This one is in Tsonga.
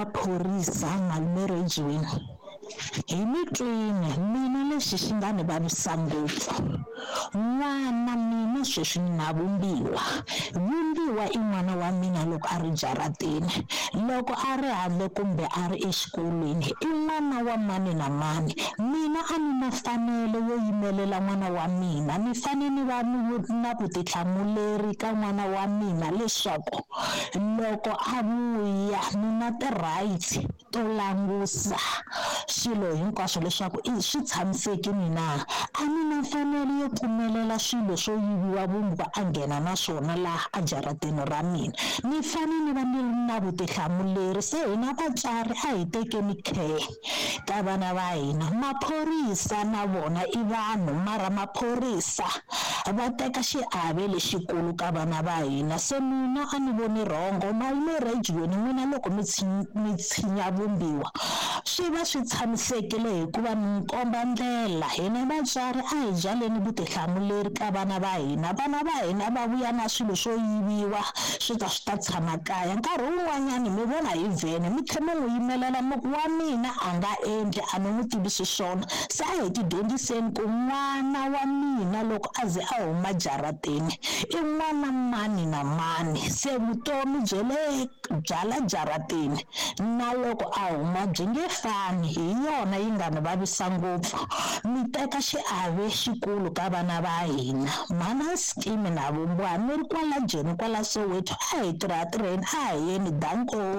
maphorisa malume Rejiweni hi mi twini mina lexi xi nga ni vavisa ngopfu n'wana mina sweswi ni na vumbiwa vumbiwa i n'wana wa mina loko a ri jaratini loko a ri handle kumbe a ri exikolweni i n'wana wa mani na mani mina a ni na mfanelo yo yimelela n'wana wa mina ni fanele ni va ni na vutihlamuleri ka n'wana wa mina leswaku loko a vuya ni na ti-rights to langusa swilo hinkwaswo leswaku i swi tshamisekile na a ni na mfanelo yo pfumelela swilo swo yiviwa vumbwa a nghena na swona laha ejaratini ra mina ni fanele ni va ni ri na vutihlamuleri se hina vatswari a hi tekeni care ka vana va hina maphorisa na vona i vanhu mara maphorisa va teka xiave lexikulu ka vana va hina se mina a ni voni rhongo malume Rejiweni n'wina loko mi mi tshinya vumbiwa swi va swi tshamisekile hikuva mi komba ndlela hina vatswari a hi byaleni vutihlamuleri ka vana va hina vana va hina va vuya na swilo swo yiviwa swi ta swi ta tshama kaya nkarhi wun'wanyani mi vona hi vhene mi tlhe mi n'wi yimelela mi ku wa mina a nga endli a ni n'wi tivisi swona se a hi ti dyondziseni ku n'wana wa mina loko a ze a huma jaratini i n'wana mani na mani se vutomi bya le bya la jaratini na loko a huma byi nge fani hi yona yi nga ni vavisa ngopfu mi teka xiave xikulu ka vana va hina mhana skimi na vumbiwa mi ri kwala joni kwala Soweto a hi tirha tirheni a hi yeni danko.